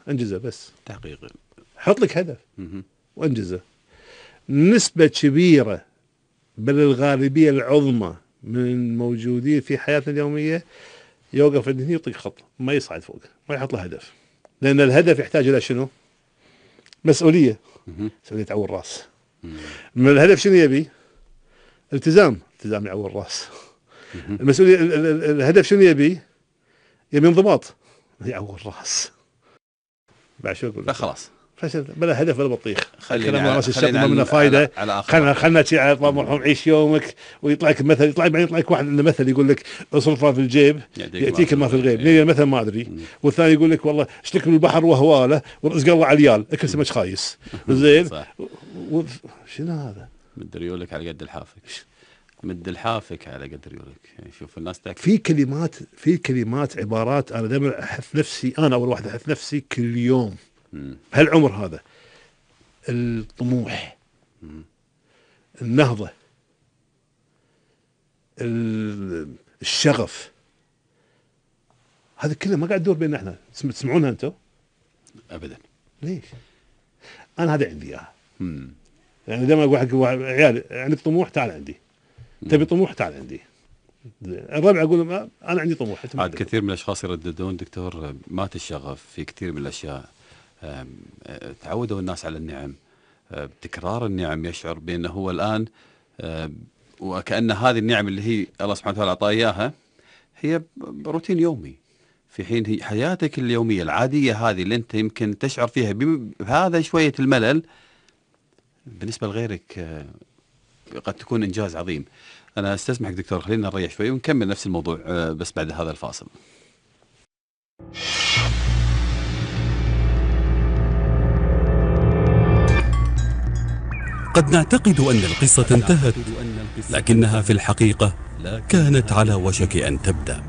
انجزه بس. تحقيق. حط لك هدف وانجزه. نسبة كبيرة بل الغالبية العظمى من الموجودين في حياتنا اليومية يوقف عند هني يطيق خط، ما يصعد فوق، ما يحط له هدف. لأن الهدف يحتاج إلى شنو؟ مسؤولية. مسؤولية تعور راس. من الهدف شنو يبي؟ التزام يعور الراس. المسؤولية الهدف شنو يبي؟ يبي انضباط يعور الراس. بعد شو أقول؟ خلاص بلا هدف ولا بطيخ. خلينا راس الشق ما منه فايده. خلنا شيء على طموح عيش يومك ويطلع لك مثل، يطلع لك واحد عنده مثل يقول لك اصرف ما في الجيب ياتيك ما في الغيب. ليه المثل ما ادري. والثاني يقول لك والله اشتك من البحر وهواله ورزق الله عيال اكل سمك خايس. زين شنو هذا؟ مد ريولك على قد الحافك. مد الحافك على قد ريولك. يعني شوف الناس تاكل. في كلمات عبارات انا دائما احث نفسي، انا اول واحد احث نفسي كل يوم بهالعمر هذا: الطموح، النهضة، الشغف. هذا كله ما قاعد تدور بيننا احنا. تسمعونها انتم؟ ابدا. ليش؟ انا هذا عندي اياها. يعني دائما اقول حق عيالي عندك طموح تعال عندي. تبي طموح تعال عندي. الربع اقول انا عندي طموح. عاد كثير من الاشخاص يرددون دكتور مات الشغف في كثير من الاشياء. تعودوا الناس على النعم، بتكرار النعم، يشعر بأنه هو الآن وكأن هذه النعم اللي هي الله سبحانه وتعالى أعطاه إياها هي روتين يومي، في حين هي حياتك اليومية العادية هذه اللي أنت يمكن تشعر فيها بهذا شوية الملل بالنسبة لغيرك قد تكون إنجاز عظيم. أنا استسمحك دكتور، خلينا نريح شوي ونكمل نفس الموضوع بس بعد هذا الفاصل. قد نعتقد أن القصة انتهت، لكنها في الحقيقة كانت على وشك أن تبدأ.